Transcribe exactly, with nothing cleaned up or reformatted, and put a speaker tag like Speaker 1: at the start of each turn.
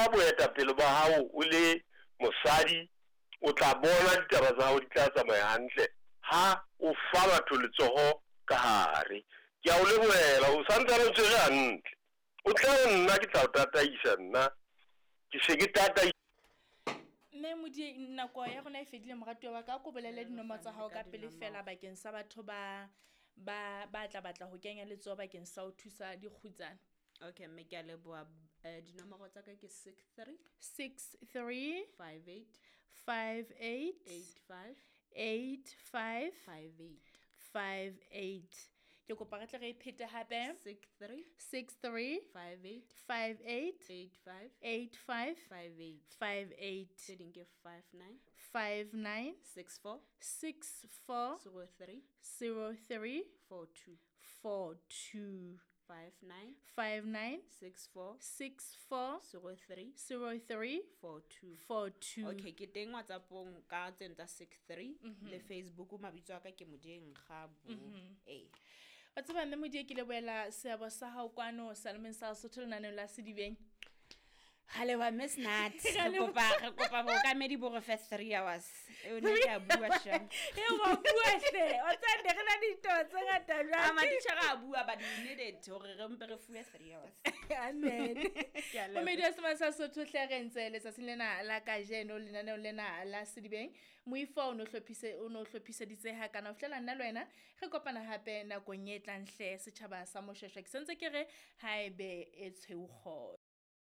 Speaker 1: Tshepa boetapele ba hao o le mosadi, o tla bona ditaba tsa hao di tla tsamaya hantle ha o fa batho letsoho ka hare. Ke a o lebohela, o santsane o tshwere hantle. O tle ho nna, ke tla o tataisa nna. Ke se ke tataisa.
Speaker 2: Mme Modieng, nako ya rona e fedile, moratuwa wa ka. A ko bolele dinomoro tsa hao ka pele fela bakeng sa batho ba ba ba tla batla ho kenya letsoho bakeng sa ho thusa dikgutsana.
Speaker 3: Okay, mme ke a leboha. Eh, dinomoro tsa ka ke six three
Speaker 2: six three
Speaker 3: five eight
Speaker 2: five eight
Speaker 3: eight five
Speaker 2: eight five
Speaker 3: five eight.
Speaker 2: five eight. Ke kopa re tle re e phete hape.
Speaker 3: six three
Speaker 2: six three
Speaker 3: five eight
Speaker 2: five eight
Speaker 3: eight five
Speaker 2: eight five
Speaker 3: five eight.
Speaker 2: five eight.
Speaker 3: Tse ding ke five nine
Speaker 2: five nine
Speaker 3: six four
Speaker 2: six four
Speaker 3: zero three
Speaker 2: zero three
Speaker 3: four two.
Speaker 2: four two.
Speaker 3: five nine
Speaker 2: five nine
Speaker 3: six four
Speaker 2: six four
Speaker 3: zero three
Speaker 2: zero three
Speaker 3: four two.
Speaker 2: four two.
Speaker 3: Okay, ke teng WhatsAppong ka tseno tsa six three le Facebook mabitso a ka ke Modieng Kgabo. Eh.
Speaker 2: Wa tseba mme Modieng, ke lebohela seabo sa hao kwano Salemeng sa Lesotho lenaneong la Sedibeng.
Speaker 3: Ga leboha Miss Nat. Re kopa, re kopa bookamedi bo re fe three hours. Eo ne ke a bua shem.
Speaker 2: E wa bua hle. Wa tseba ne re na le ditaba tse ngata jwang.
Speaker 3: A matitjhere a bua, but we need it hore re mpe re fuwe three hours.
Speaker 2: Amen.
Speaker 3: Ke a leboha.
Speaker 2: Momedi wa Semane sa Sesotho hle re ntse letsatsing lena la kajeno lenaneong lena la Sedibeng. Moifo o no hlophise, o no hlophiseditse hakana ho fihlela nna le wena re kopana hape nakong e tlang hle setjhaba sa Moshweshwe. Ke sentse ke re haebe e tshweu kgotso.